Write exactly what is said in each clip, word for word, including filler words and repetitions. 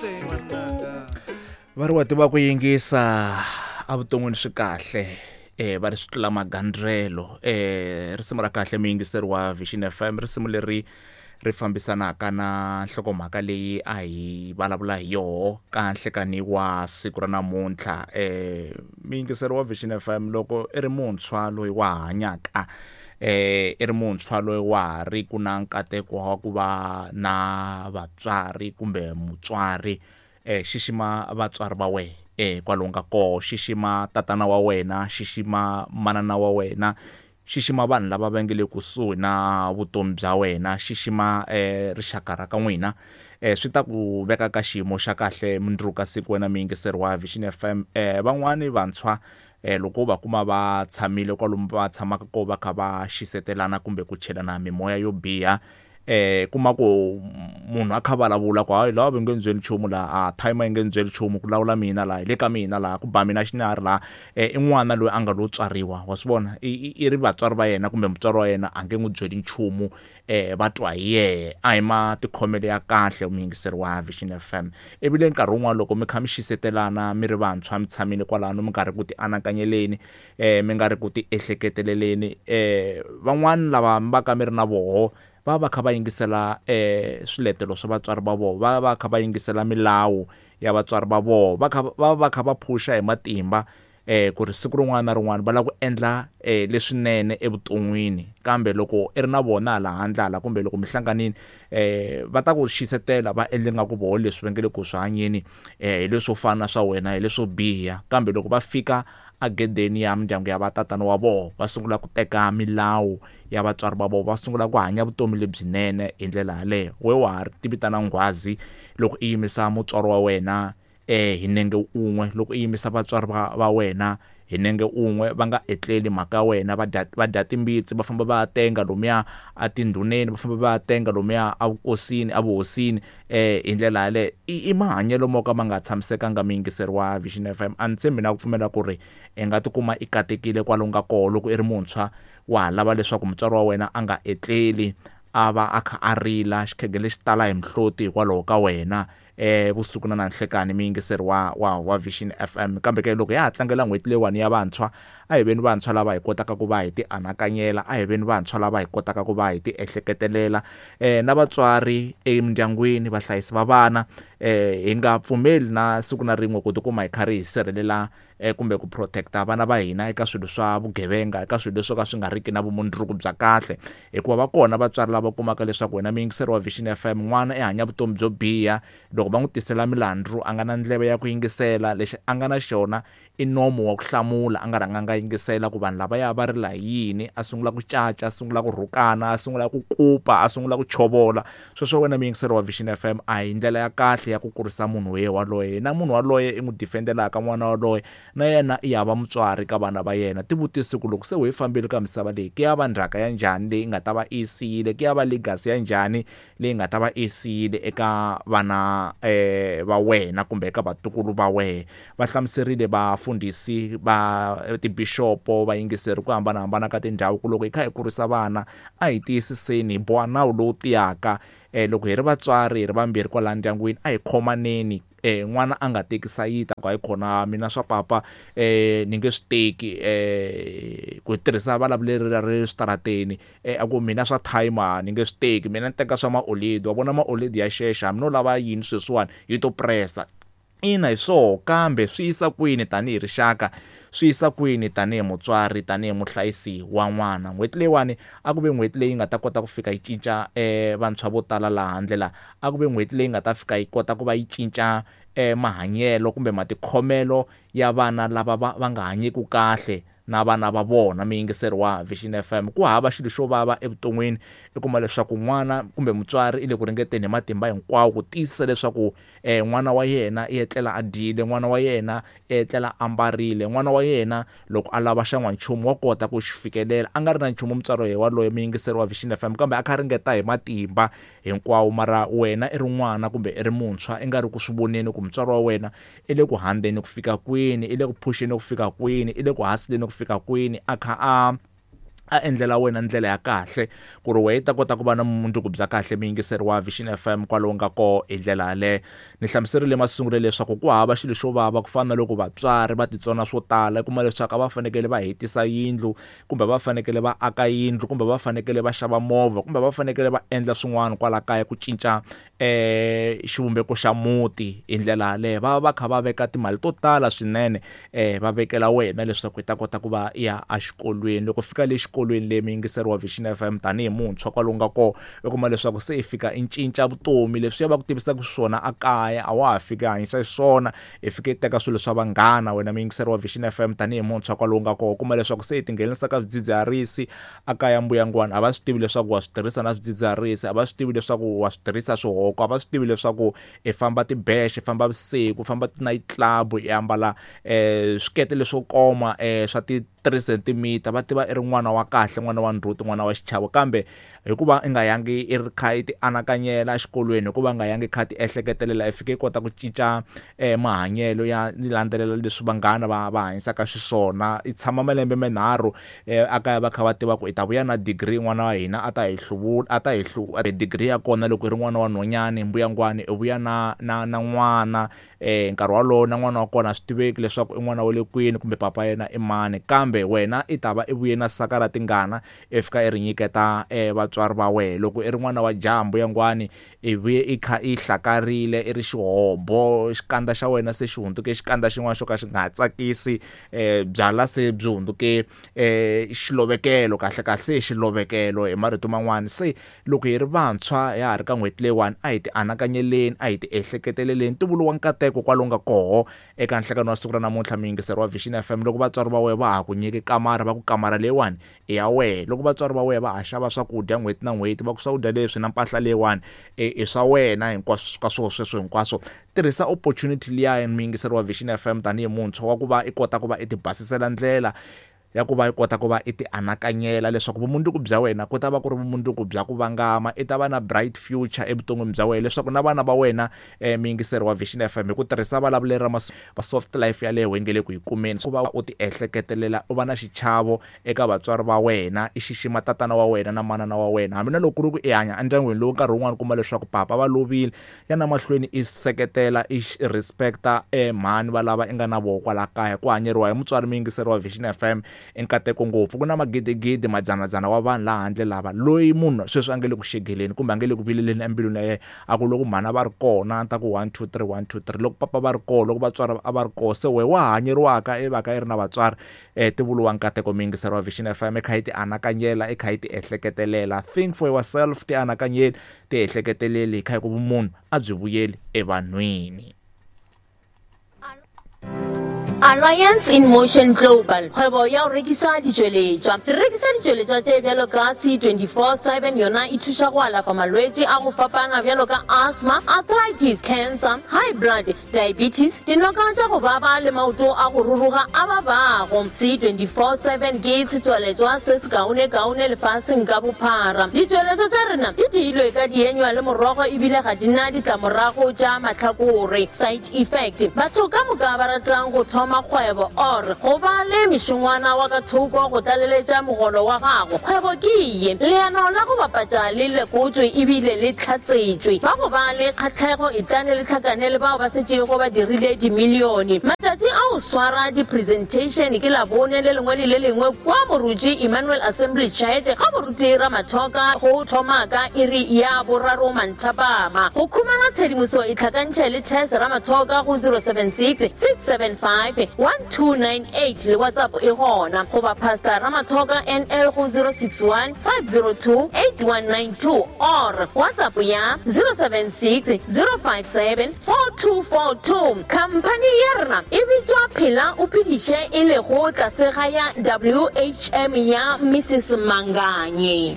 Va ri wa tiva ku yingisa evuton'wini swi kahle eh va ri swi tlula magandzelo. eh Risimu ra kahle muyingiseri wa Vision F M, risimu leri ri fambisanaka na nhlokomhaka leyi a hi vulavula hi yoho ka nhlekani wa siku ra namuntlha. eh Muyingiseri wa Vision F M, loko i ri muntshwa loyi wa hanyaka, eh i ri muntshwa loyi wa ha ri ku na nkateko wa ku va na vatswari kumbe mutswari, eh xixima vatswari va wena eh kwalomu ka koho, xixima tatana wa wena, xixima manana wa wena, xixima vanhu lava va nge le kusuhi na vutomi bya wena, xixima eh rixaka ra ka n'wina. eh Swi ta ku veka ka xiyimo xa kahle mundzuku ka siku wena muyingiseri wa Vision F M. eh Van'wani vantshwa eh loko va kuma va tshamile kwalomu va tshamaka ko va kha va xisetelana kumbe ku chelana mimoya yo biha, eh kuma ku munhu a kha vulavula ku hayi laha va nge ndzeli nchumu laha, a timer yi nge ndzeli nchumu, ku lawula mina laha, hi le ka mina laha, ku ba mina xinari laha. eh I n'wana loyi a nga lo tswariwa, wa swi vona, i ri vatswari va yena kumbe mutswari wa yena a nge n'wi byeli nchumu, eh va twa hi yehe. A hi matikhomelo ya kahle muyingiseri wa Vision F M. Ebile nkarhi wun'wana loko mi kha mi xisetelana mi ri vantshwa mi tshamile kwalano mi nga ri ku ti anakanyeleni, eh mi nga ri ku ti ehleketeleleni, eh van'wani lava mi va ka mi ri na voho va va kha va yingisela eh swiletelo swa vatswari va vona, va va kha va yingisela milawu ya vatswari va vona, va kha va va kha va phusha hi matimba eh ku ri siku rin'wana na rin'wana va lava ku endla eh leswinene evuton'wini. Kambe loko i ri na vona hala handle hala kumbe loko mi hlanganile, eh va ta ku xisetela va endle nga ku voho leswi va nge le ku swi hanyeni, eh hi leswo fana swa wena, hi leswo biha. Kambe loko va fika agedeni ya mindyangu ya vatatana wa vona, va sungula ku teka milawu ya vatswari va vona, va sungula ku hanya vutomi lebyinene hi ndlela yaleyo. We wa ha ri ti vitana nghwazi loko i yimisa mutswari wa wena eh hi nenge un'we, loko i yimisa vatswari va, va wena hi nenge un'we, va nga etleli mhaka ya wena, va dya, va dya timbitsi, va famba va ya tenga lomuya etindhuneni, va famba va ya tenga lomuya evukosini, evuhosini, eh hi ndlela yaleyo. I, i mahanyelo mo ka ma nga tshamisekanga muyingiseri wa Vision F M. A ni tshembi na ku pfumela ku ri i nga tikuma i katekile kwalomu ka koho loko i ri muntshwa wa ha lava leswaku mutswari wa wena a nga etleli, a va a kha a rila xikhegelo lexi tala hi mihloti hikwalaho ka wena eh vusiku na nanhlekani muyingiseri wa, wa, wa Vision F M. Kambe ke loko ya ha tlangela n'hweti leyiwani ya vantshwa, a hi veni vantshwa lava hi kotaka ku va hi ti anakanyela, a hi veni vantshwa lava hi kotaka ku va hi ti ehleketelela, eh na vatswari emindyangwini, vahlayisi va vana, eh hi nga pfumeli na siku na rin'we ku tikuma hi karhi hi sirhelela eh kumbe ku protecta vana va hina eka swilo swa vugevenga, eka swilo leswo ka swi nga riki na vumundzuku bya kahle. Hikuva va kona vatswari lava kumaka leswaku wena muyingiseri wa Vision F M, n'wana i hanya vutomi byo biha, loko va n'wi tisela milandzu a nga na ndleve ya ku yingisela, lexi a nga na xona i nomo wa ku hlamula, a nga rhanganga yingisela ku vanhu lavaya va rila hi yini, a sungula ku caca, a sungula ku rhukana, a sungula ku kupa, a sungula ku chovola. Sweswo wena muyingiseri wa Vision F M a hi ndlela ya kahle ya ku kurisa munhu ye waloye, na munhu waloye i n'wi defendelaka n'wana waloye, na yena i ya va mutswari ka vana va yena. Tivutise ku loko se u yi fambile ka misava leyi, ku ya va ndzhaka ya njhani leyi nga ta va i siyile, ku ya va legacy ya njhani leyi nga ta va i siyile eka vana eh va wena kumbe eka vatukulu va wena. Va hlamuserile vafundhisi va tibishopo, vayingiseri ku hambanahambana ka tindhawu ku loko hi kha hi kurisa vana a hi tiyisiseni hi boha nawu lowu tiyaka. eh Loko hi ri vatswari hi ri vambirhi kwala ndyangwini a hi khomaneni, eh n'wana a nga teki sayita ku hayi khona mina swa papa eh ni nge swi teki, eh ku tirhisa vulavuleri ra le switarateni, eh a ku mina swa timer ni nge swi teki, mina ni teka swa maoledi, wa vona maoledi ya xexa, hambi no lava yini sweswiwani yi to pressa. Ina hi swoho, kambe swi yisa kwini tanihi rixaka, swi yisa kwini tanihi mutswari, tanihi muhlayisi wa n'wana. N'hweti leyiwani a ku ve n'hweti leyi nga ta kota ku fika yi cinca eh vantshwa vo tala laha handle laha, a ku ve n'hweti leyi nga ta fika yi kota ku va yi cinca eh mahanyelo kumbe matikhomelo ya vana lava va, va nga hanyiki kahle na vana va vona. Muyingiseri wa Vision F M, ku hava xilo xo vava evuton'wini i kuma leswaku n'wana kumbe mutswari i le ku ringeteni hi matimba hinkwawo ku tiyisisa leswaku eh n'wana wa yena i etlela a dyile, n'wana wa yena i etlela a ambarile, n'wana wa yena loko a lava xan'wanchumu wa kota ku xi fikelela, a nga ri na nchumu mutswari waloye muyingiseri wa Vision F M, kambe a kha a ringeta hi matimba hinkwawo. Mara wena i ri n'wana kumbe i ri muntshwa i nga ri ku swi voneni ku mutswari wa wena i le ku handzeni ku fika kwini, i le ku phuxeni ku fika kwini, i le ku hasileni ku fika kwini, a kha a A endlela wena ndlela ya kahle ku ri wehe ta kota ku va na mundzuku bya kahle. Muyingiseri wa Vision F M kwalomu nga koho hi ndlela yaleyo. Ni hlamuserile masungulweni leswaku ku hava xilo xo vava ku fana na loko vatswari va titsona swo tala, u kuma leswaku a va fanekele va hetisa yindlu kumbe va fanekele va aka yindlu kumbe va fanekele va xava movha kumbe va fanekele va endla swin'wana kwala kaya ku cinca eh xivumbeko xa muti hi ndlela yaleyo. Va va kha va veka timali to tala swinene eh va vekela wena leswaku i ta kota ku va ya exikolweni. Loko fika le xikolweni leyi muyingiseri wa Vision F M tanihi muntshwa kwalomu nga kona, u kuma leswaku se i fika i cinca vutomi, leswiya va ku tivisaka swona a kaya a wa ha fiki hanyisa xiswona, i fike i teka swilo swa vanghana. Wena muyingiseri wa Vision F M tanihi muntshwa kwalomu nga kona, u kuma leswaku se i tinghenisa ka swidzidziharisi a kaya mbuyangwana, a va swi tivi leswaku wa swi tirhisa na swidzidziharisi, a va swi tivi leswaku wa swi tirhisa swihoko, a va swi tivi leswaku i famba tibexe, i famba vusiku, i famba ti-night club, i ambala eh swikete leswo koma eh swa ti three centimeter, va tiva i ri n'wana wa kahle, n'wana wa ndzhuti, n'wana wa xichavo. Kambe hikuva i nga yangi i ri kha i ti anakanyela exikolweni, hikuva nga yangi kha ti ehleketelela, i fike i kota ku cinca eh mahanyelo ya ni landzelela leswi vanghana va va hanyisaka xiswona. I tshama malembe manharhu eh a kaya va kha va tiva ku i ta vuya na degree, n'wana wa hina a ta hi hluvula, a ta hi hlu degree ya kona. Loko i ri n'wana wa nhwanyani mbuyangwani, i vuya na na na n'wana eh nkarhi walowo na n'wana wa kona a swi tiveki leswaku i n'wana wa le kwini kumbe papa yena i mani, kambe wena i ta va i vuye na saka ra tingana, i fika i ri nyiketa eh vatswari va wena. Loko i ri n'wana wa jaha mbuyangwani, i vuye i kha i hlakarile, i ri xihobo, xikandza xa wena se xi hundzuke xikandza xin'wana xo ka xi nga ha tsakisi, eh byala se byi hundzuke eh xilovekelo, kahle kahle se xilovekelo hi marito man'wana. Se loko hi ri vantshwa ya ha ri ka n'hweti leyiwani, a hi ti anakanyeleni, a hi ti ehleketeleleni. Ntumbuluko wa nkateko kwalomu nga koho eka nhlekano wa siku ra namuntlha, muyingiseri wa Vision F M. Loko vatswari va wena va ha ku nyike kamara, va ku kamara leyiwani i ya wena. Loko vatswari va wena va ha xava swakudya n'hweti na n'hweti, va ku swakudya leswi na mpahla leyiwani i swa wena hinkwaswo ka swona sweswo hinkwaswo, tirhisa opportunity liya muyingiseri wa Vision F M tanihi muntshwa wa ku va i kota ku va i ti basisela ndlela ya ku va i kota ku va i ti anakanyela leswaku vumundzuku bya wena ku ta va ku ri vumundzuku bya ku vangama, i ta va na bright future evuton'wini bya wena, leswaku na vana va wena eh muyingiseri wa Vision F M hi ku tirhisa vulavuleri ra va soft life yaleyo hi nge le ku yi kumeni. Ku va u ti ehleketelela, u va na xichavo eka vatswari va wena, i xixima tatana wa wena na manana wa wena, hambi na loko ku ri ku i hanya endyangwini lowu nkarhi wun'wani kuma leswaku papa va lovile, ya na mahlweni i seketela, i respecta eh mhani va lava i nga na voho kwala kaya. Ku hanyeriwa hi mutswari muyingiseri wa Vision F M i nkateko ngopfu. Ku na magidigidi madzanadzana wa vanhu laha handle lava loyi munhu sweswi a nge le ku xegeleni kumbe a nge le ku vileleni embilwini ya yena, a ku loko mhana va ri kona a ta ku one two three one two three, loko papa va ri kona, loko vatswari a va ri kona, se wehe wa hanyeriwaka i va ka i ri na vatswari eh ti vuriwa nkateko. Muyingiseri wa Vision F M i kha yi ti anakanyela, i kha yi ti ehleketelela. Think for yourself, ti anakanyeli, ti ehleketeleli, hi kha hi ku vumunhu a byi vuyeli evanhwini. Alliance in Motion Global, kgwebo ya go rekisa ditšweletšwa. Re rekisa ditšweletšwa tše bjalo ka C twenty-four seven, yona e thuša go alafa malwetši a go fapana bjalo ka asthma, arthritis, cancer, high blood, diabetes, dinoka tša go baba le maoto a go ruruga a babago. C twenty-four seven ke setswaletšwa se sekaone-kaone lefaseng ka bophara. Ditšweletšwa tša rena di diilwe ka dienywa le morogo ebile ga di na ditlamorago tša mahlakore, side effect. Batho ka moka ba ratang go thoma kgwebo or go ba le mešongwana wa ka thoko go tlaleletša mogolo wa gago, kgwebo ke ye. Leano la go bapatša le lekotšwe ebile le hlatsetšwe. Ba go ba le kgahlego e tlane le hlakane le bao ba setšego ba dirile dimilione. Matšatši a go swara di-presentation ke Labone le lengwe le le lengwe kua Moruti Emmanuel Assembly Church ga Moruti Ramathoka go thoma ka iri ya boraro manthapama. Go khumana tshedimoso e hlakantšhe le Tess Ramathoka go zero seven six six seven five one two nine eight le WhatsApp e gona, goba Pastor Ramathoka N L go zero six one five zero two eight one nine two or WhatsApp ya zero seven six zero five seven four two four two. Khamphani ya rena e bitšwa Phela o Phediše, e lego tlase ga ya W H M ya Missus Manganye.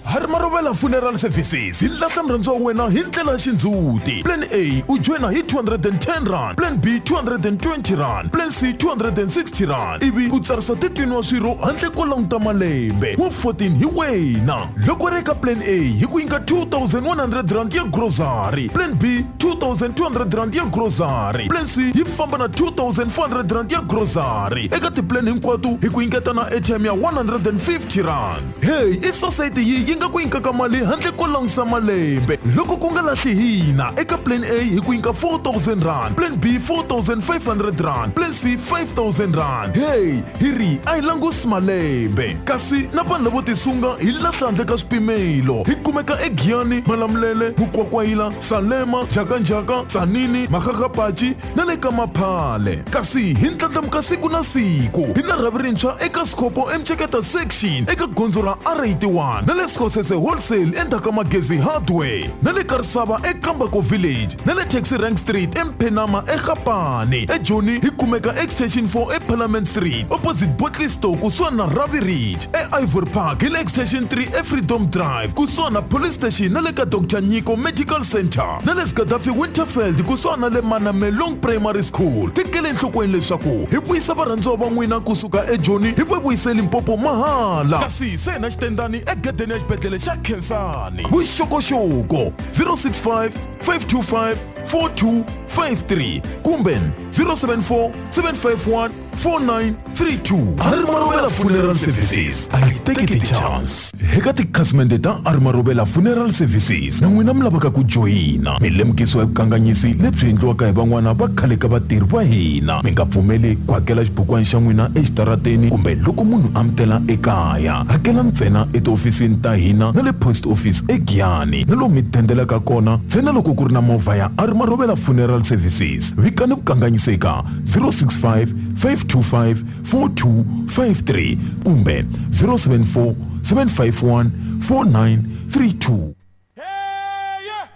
Harimarovela Funeral Services hi lahla murhandziwa wa wena hi ndlela ya xindzhuti. Plan A u joyina hi two hundred and ten rand, Plan B two hundred and twenty rand, Plan C two hundred and sixty rand, ivi u tsarisa thirteen wa swirho handle ko languta malembe, wa fourteen hi wena. Loko ri eka Plan A hi ku nyika two thousand one hundred rand ya grocery, Plan B two thousand two hundred rand ya grocery, Plan C yi famba na two thousand four hundred rand ya grocery. Eka tiplan hinkwato hi ku nyiketa na airtime ya one hundred and fifty rand. Hey, i society yi yi nga ku nyikaka mali handle ko langusa malembe. Loko ku nga lahli hina, eka Plan A hi ku nyika four thousand rand, Plan B four thousand five hundred rand, Plan C five thousand rand. Hey, hi ri a hi langusi malembe. Kasi na vanhu lavo tisunga hi lahla handle ka swipimelo. Hi kumeka eGiyani, Malamulele, Mukwakwayila, Salema, Jakanjaka, Tsanini, Makgakgapachi na le ka Maphale. Kasi hi ndlandlamuka siku na siku. Hi na rhavi rintshwa eka Sikopo eMceketa section eka gondzo ra R eighty-one na le Sekgosese Wholesale endzhaku ka Magezi Hardware na le Karisava eKambako Village na le Taxi Rank Street eMphenama eGapane. eJoni hi kumeka Extension four eParliament Street opposite Botley Store kusuhani na Ravi Ridge. E-Ivory Park hi le Extension three eFreedom Drive kusuhani na Police Station na le ka Doctor Nyiko Medical Center na le Gaddafi Winterfeld kusuhani na le Manamelong Primary School. Tekele enhlokweni leswaku hi vuyisa varhandziwa va n'wina kusuka eJoni hi va vuyise Limpopo mahala. Kasi se na xitendani egedeni ya xibedhlele xa Khensani. Vuxokoxoko zero six five, five two five, four two five three kumbe zero seven four, seven five one, four nine three two. Harimarovela Funeral Services a hi teki ti-chance. Eka tikhasimende ta Harimarovela Funeral Services na n'wina mi lavaka ku joyina, mi lemukisiwa hi vukanganyisi lebyi endliwaka hi van'wana va khale ka vatirhi va hina. Mi nga pfumeli ku hakela xibukwana xa n'wina exitarateni kumbe loko munhu a mi tela ekaya. Hakela ntsena etihofisini ta hina na le post office eGiyani na lomu mi dendelaka kona ntsena loko ku ri na movha ya Harimarovela Funeral Services. Vikani vukanganyisi eka zero six five, five two five, four two five three kumbe zero seven four, seven five one, four nine three two. Hey, yeah.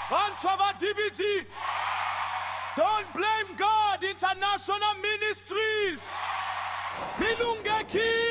Vantshwa va D B G, Don't Blame God International Ministries. Milungeki.